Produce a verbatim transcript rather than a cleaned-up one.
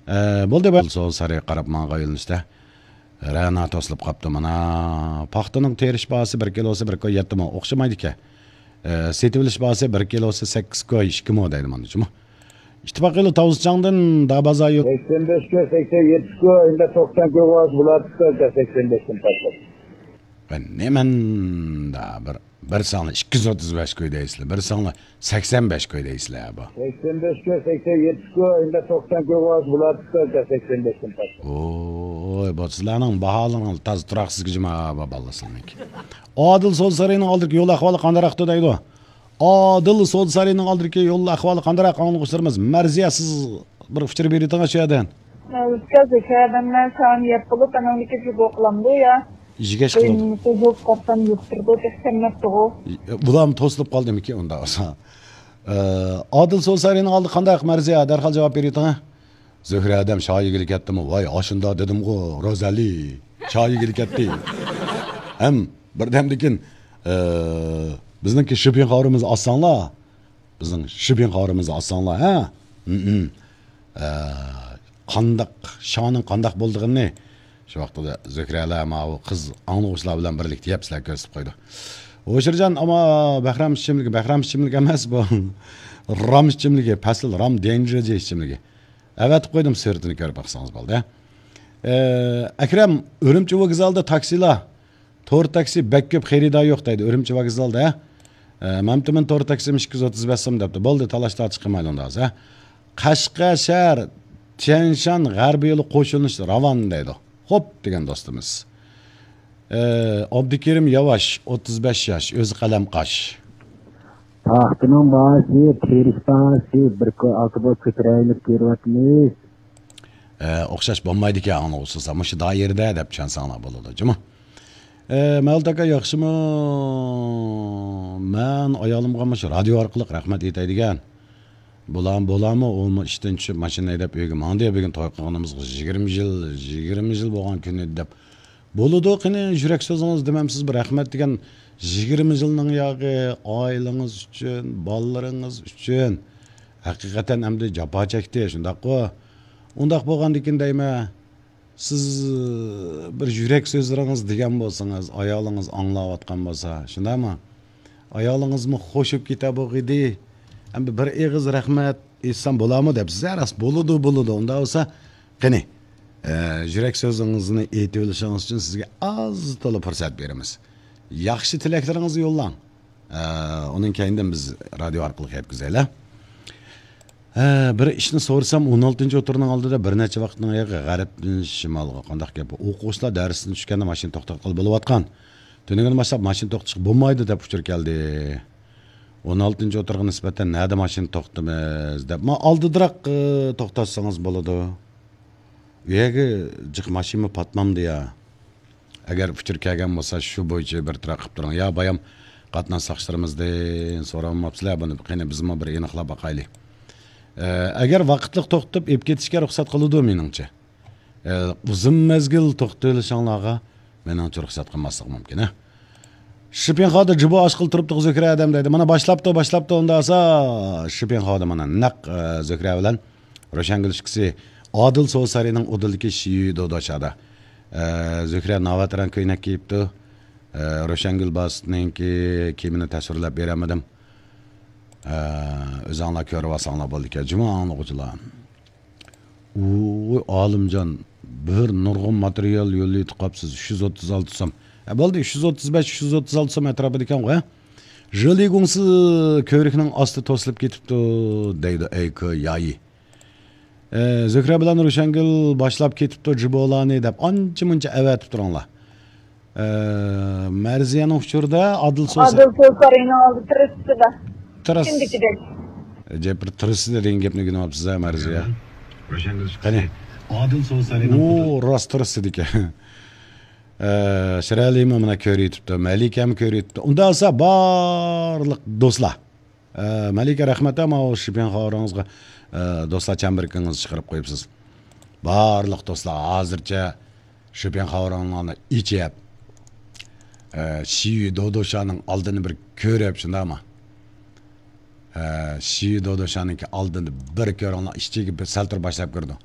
ئە، بولدى، بولدى. سول سارى قاراپ ماڭغان يۆنىلىشتە رەنا توسۇلۇپ قاپتۇ. مانا، پاختىنىڭ تېرىش باھاسى بىر كىلوسى بىر كوي يەتتە مو. ئوخشىمايدىكەن. ئە، سېتىۋېلىش باھاسى بىر كىلوسى سەككىز كوي ئىككى مو دەيدۇ مانا، جۇمۇ. ئىتتىپاق يولى تاۋۇزچاڭدىن دابازا يول. سەكسەن بەش كوي، سەكسەن يەتتە كوي، ئەمدى توقسان كوي بولاتتى، سەكسەن بەشتىن باشلاپ. نېمەندا بىر، بىر ساڭلا ئىككى يۈز ئوتتۇز بەش كوي دەيسىلەر، بىر ساڭلا سەكسەن بەش كوي دەيسىلەر بۇ. سەكسەن بەش كوي، سەكسەن يەتتە كوي، ئەمدى توقسان كوي بولاتتى، سەكسەن بەشتىن باشلاپ. ۋوي، بۇ سىلەرنىڭ باھالىرىڭىز تازا تۇراقسىز جۇمۇ، بالىلار سىلەرنىڭكى. ئادىل سودا سارىيىنىڭ ئالدىدىكى يول ئەھۋالى قانداقراقتۇ دەيدۇ. ئادىل سودا سارىيىنىڭ ئالدىدىكى يول ئەھۋالى قانداقراق ئاڭلىغۇچىلىرىمىز؟ مەرزىيە، سىز بىر ئۇچۇر بېرىۋېتىڭ شۇ يەردىن. ئۆتكەز ئىكەن، مەن ساڭا يەپ بولۇپ، ئانىڭدىكى جۇبو قىلامدۇ يا؟ يېگەش قىلىدۇ. قىيىنلىقى يوق، قاپتان يۇقتۇردۇ، دەپ سەممەپتىغۇ. بۇلارمۇ توسۇلۇپ قالدىمىكىن ئۇنداق بولسا؟ ئە، ئادىل سودا سارىيىنىڭ ئالدى قانداق، مەرزىيە؟ دەرھال جاۋاب بېرىۋېتىڭ. زۆھرە ئادەم شايىگىلى كەتتىمۇ؟ ۋاي، ئاشۇندا دېدىمغۇ، روزەلى. شايىگىلى كەتتى. ھەم بىردەمدىن كېيىن، ئە، بىزنىڭكى شىپىن خاۋىرىمىزنى ئاچساڭلار. بىزنىڭ شىپىن خاۋىرىمىزنى ئاچساڭلار، ھە؟ ھىم، ھىم. ئە، قانداق، شانىڭ قانداق بولىدىغىنىنى شۇ ۋاقىتتا زۆھرەلەر، ماۋۇ قىز ئاڭلىغۇچىلار بىلەن بىرلىكتە يەپ سىلەرگە كۆرسىتىپ قويىدۇ. ھوشۇرجان، ئاما بەھرام ئىچىملىكى، بەھرام ئىچىملىكى ئەمەس بۇ. رام ئىچىملىكى، پەسىل رام دېنجېرجى ئىچىملىكى. ئەۋەتىپ قويدۇم، سۈرىتىنى كۆرۈپ باقسىڭىز بولدى. ئە، ئەكرەم، ئۈرۈمچى ۋوگزالدا تاكسىلار، تور تاكسى بەك كۆپ، خېرىدار يوق دەيدۇ، ئۈرۈمچى ۋوگزالدا. ئە، مەمتىمىن تور تاكسىمۇ ئىككى يۈز ئوتتۇز بەش سوم دەپتۇ. بولدى، تالاش تارتىش قىلمايلى ئۇنداق بولسا. قەشقەر شەھەر، تيەنشان غەربىي يولى قوشۇلۇش راۋان دەيدۇ. خوپ دېگەن دوستىمىز. ئە، ئابدۇكېرىم ياۋاش، ئوتتۇز بەش ياش، ئۆزى قەلەم قاش. پاختىنىڭ باھاسى، تېرىش باھاسى بىر كوي ئالتە بوي كۆتۈرەيلىپ كېلىۋاتىمىز. ئە، ئوخشاش بولمايدىكەن، ئاڭلىغۇچىلار. مۇشۇ دائىرىدە دەپ چۈشەنسەڭلار بولىدۇ، جۇمۇ. ئە، مەۋلۇت ئاكا، ياخشىمۇ؟ مەن ئايالىمغا مۇشۇ رادىيو ئارقىلىق رەھمەت ئېيتاي دېگەن. بولام، بولامۇ؟ ئۇمۇ ئىشتىن چۈشۈپ، ماشىنا ھەيدەپ ئۆيگە ماڭدى. بۈگۈن توي قىلغىنىمىزغا يىگىرمە يىل، يىگىرمە يىل بولغان كۈنى دەپ. بولىدۇ، قېنى، يۈرەك سۆزىڭىز دېمەمسىز، بىر رەھمەت دېگەن. يىگىرمە يىلنىڭ ياغى ئائىلىڭىز ئۈچۈن، بالىلىرىڭىز ئۈچۈن ھەقىقەتەن ئەمدى جاپا چەكتى، شۇنداققۇ؟ ئۇنداق بولغاندىكىن دەيمەن، سىز بىر يۈرەك سۆزلىرىڭىز دېگەن بولسىڭىز، ئايالىڭىز ئاڭلاۋاتقان بولسا، شۇنداقمۇ؟ ئايالىڭىزمۇ خوش بولۇپ كېتە بولغىيدى. ئەمدى بىر ئېغىز رەھمەت ئېيتسام بولامۇ دەپسىز. ھە، راست، بولىدۇ، بولىدۇ. ئۇنداق بولسا، قېنى، ئە، يۈرەك سۆزىڭىزنى ئېيتىۋېلىشىڭىز ئۈچۈن سىزگە ئاز تولا پۇرسەت بېرىمىز. ياخشى تىلەكلىرىڭىزنى يوللاڭ. ئە، ئۇنىڭ كەينىدىن بىز رادىيو ئارقىلىق يەتكۈزەيلى. ھە، بىر ئىشنى سورىسام، ئون ئالتىنچى ئوتتۇرىنىڭ ئالدىدا بىر نەچچە ۋاقىتنىڭ ئايىغى غەربتىن شىمالغا. قانداق گەپ بۇ؟ ئوقۇغۇچىلار دەرستىن چۈشكەندە ماشىنا توختاتقىلى بولۇۋاتقان. تۈنۈگۈن باشلاپ ماشىنا توختىتىشقا بولمايدۇ دەپ ئۇچۇر كەلدى. ئون ئالتىنچى ئوتتۇرىغا نىسبەتەن نەدە ماشىنا توختىتىمىز دەپ، ما ئالدىدىراق، ئى، توختاتسىڭىز بولىدۇ. ئۇ يەرگە جىق ماشىنىمۇ پاتمامدۇ يا؟ ئەگەر ئۇچۇر كەلگەن بولسا، شۇ بويىچە بىر تىراق قىلىپ تۇرۇڭ. يا بايام قاتناش ساقچىلىرىمىزدىن سورالماپسىلەر بۇنى، قېنى بىزمۇ بىر ئېنىقلاپ باقايلى. ئە، ئەگەر ۋاقىتلىق توختىتىپ ئېلىپ كېتىشكە رۇخسەت قىلىدۇ مېنىڭچە. ئە، ئۇزۇن مەزگىل توختىتىۋېلىشىڭلارغا مېنىڭچە رۇخسەت قىلماسلىقى مۇمكىن، ھە. شىپىنخادا جىبو ئاچقىلى تۇرۇپتۇ زۆھرە ئادەم دەيدۇ. مانا باشلاپتۇ، باشلاپتۇ ئۇندا ئاسا شىپىنخادا مانا نەق، ئە، زۆھرە بىلەن روشەنگۈل ئىككىسى ئادىل سودا سارىيىنىڭ ئۇدۇلىدىكى شىيۈ دودوشادا. ئە، زۆھرە ناۋاتىران كۆينەك كىيىپتۇ. ئە، روشەنگۈل باسىتنىڭكى كىيىمىنى تەسۋىرلەپ بېرەلمىدىم. ئە، ئۆزۈڭلار كۆرۈۋالساڭلار بولىدىكەن. جۇمۇ ئاڭلىغۇچىلار. ۋوي، ئالىمجان، بىر نۇرغۇن ماتېرىيال يوللاپ قاپسىز، ئۈچ يۈز ئوتتۇز ئالتە سوم. ئە، بولدى، ئۈچ يۈز ئوتتۇز بەش، ئۈچ يۈز ئوتتۇز ئالتە سوم ئەتراپىدىكەنغۇ، ھە؟ ژېلىگۇڭسى كۆۋرۈكنىڭ ئاستى توسۇلۇپ كېتىپتۇ، دەيدۇ ئەيكو يايى. ئە، زۆھرە بىلەن روشەنگۈل باشلاپ كېتىپتۇ جىبولارنى دەپ، ئانچە مۇنچە ئەۋەتىپ تۇرۇڭلار. ئە، مەرزىيەنىڭ ئۇچۇرىدا ئادىل سوسا. ئادىل سوسا ئالدى تىرىسىدا. تىرىس. ئىچىندىكىدەك. ئەجەب بىر تىرىسىدا دېگەن گەپنى ئۆگىنىۋاپسىز ھە، مەرزىيە. قېنى؟ ئادىل سوسا. ئۇ راست تىرىسىدىكەن. ئە، شىرئەلىمۇ مانا كۆرۈۋېتىپتۇ، مەلىكەمۇ كۆرۈۋېتىپتۇ. ئۇنداق بولسا بارلىق دوستلار. ئە، مەلىكە، رەھمەت، ماۋۇ شىپىن خاۋىرىڭىزغا، ئە، دوستلار چەمبىرىكىڭىزنى چىقىرىپ قويۇپسىز. بارلىق دوستلار ھازىرچە شىپىن خاۋىرىڭلارنى ئېچىپ، ئە، شىيۈ دودوشانىڭ ئالدىنى بىر كۆرۈپ، شۇنداقمۇ؟ ئە، شىيۈ دودوشانىڭكى ئالدىنى بىر كۆرۈڭلار، ئىچىگە بىر سەل تۇرۇپ باشلاپ كىرىدۇ.